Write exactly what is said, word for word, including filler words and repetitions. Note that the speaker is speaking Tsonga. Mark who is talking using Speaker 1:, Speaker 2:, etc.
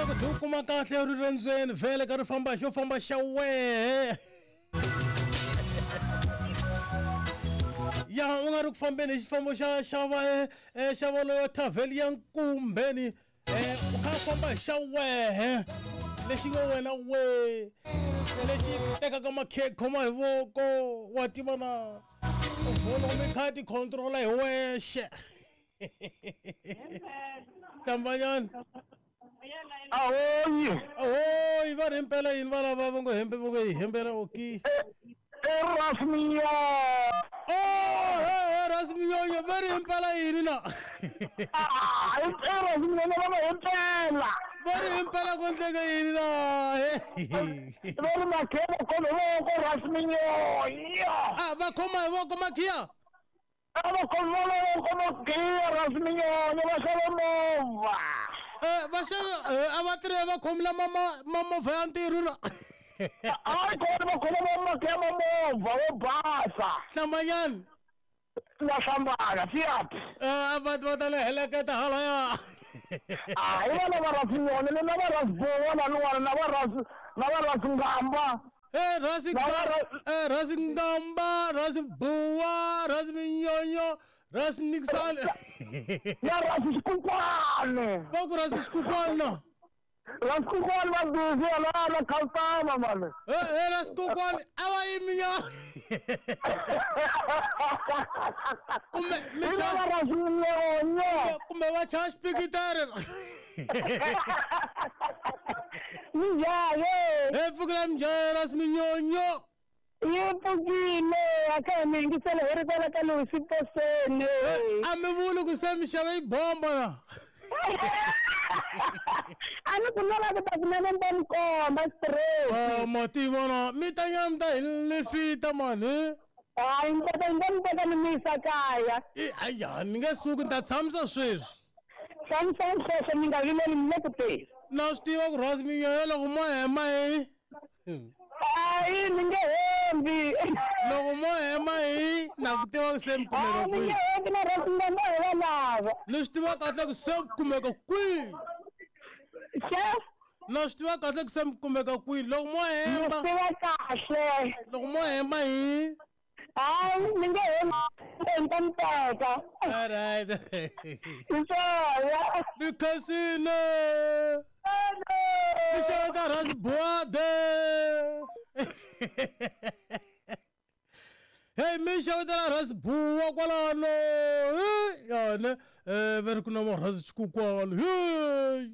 Speaker 1: ku dyi kuma kahle rirendzweni vhele ka ri famba xo famba xa wehe ya u nga ri ku fambeni hi xifambo xa xa va xa va loyo thavheli ya nkumbeni u kha famba hi xa wehe lexi ngo wena we lexi tekaka makhekhe khoma hi voko wa tiva na vona mi kha ti controla hi wexe hlambanyana
Speaker 2: ahoyi
Speaker 1: ahoyi va ri himpela yini va lava va ngo hembe va ngo hi hembela oki
Speaker 2: Erasmiyo
Speaker 1: oh Erasmiyo va ri himpela yini na
Speaker 2: ah Erasmiyo va va himpela
Speaker 1: va ri himpela ku endleka yini na
Speaker 2: va ri makhelo khoma hi voko Erasmiyo
Speaker 1: ah va khoma hi voko makhiya
Speaker 2: a va khoma voko makhiya Erasmiyo va xava movha
Speaker 1: eh va xava a va tirhe va khomela mama mamovha ya ntirho na
Speaker 2: hayi kona va khoma makhiya mamovha wo basa
Speaker 1: hlambanyana
Speaker 2: la hlambana fiat
Speaker 1: eh va va ta le heleketa halaya
Speaker 2: ah i vana va Rasminyoni na va Rasbowa na n'wana na va Ras na va Rasngamba
Speaker 1: eh Rasi eh Rasngamba Rasbuwa Rasminyonyo Rasnixal
Speaker 2: ya Rasikukwani
Speaker 1: va ku Rasikukwani
Speaker 2: Rasikukwani va busy la la khaltama man
Speaker 1: eh eh Rasikukwani a va yimi nyana kumbe mi cha
Speaker 2: Rasminyonyo
Speaker 1: kumbe va cha xipikitari
Speaker 2: Mjaye
Speaker 1: eh pfukela mjaye Rasminyonyo
Speaker 2: yi pfukile a ka mi yingisela hi ri kwala ka Louis Poseni
Speaker 1: a mi vuli ku se mi xave yi bomba na
Speaker 2: a ni ku lava ku ta kunene ni ta mi komba straight
Speaker 1: oh ma tivona mi ta nyama mi ta hi lifita mani
Speaker 2: hayi ni ta ni ta mi teka ni mi yisa kaya
Speaker 1: i aya ni nge suki ni ta tshamisa sweswi
Speaker 2: tshamisa sweswo mi nga vileli mi le ku teni
Speaker 1: na swi tiva ku Rasminyonyo loko mo hema hi
Speaker 2: hayi ni nge hembi
Speaker 1: loko mo hema hi na ku tiva ku se mi kumeka
Speaker 2: ni
Speaker 1: kwihi
Speaker 2: nge hembi na Rasngamba hi va lava
Speaker 1: ni swi tiva kahle ku se mi kumeka kwihi
Speaker 2: chef
Speaker 1: na swi tiva kahle ku se mi kumeka kwihi loko mo
Speaker 2: ni
Speaker 1: hemba
Speaker 2: tiva kahle
Speaker 1: loko mo hemba hi
Speaker 2: hayi ni nge hembi ni ta mi teka
Speaker 1: alright
Speaker 2: hi swona
Speaker 1: ni khensile ni xaveka Rasbuade hey mi xavetela Rasbuwa kwalano yona um va ri ku na ma Rasikukwani hey.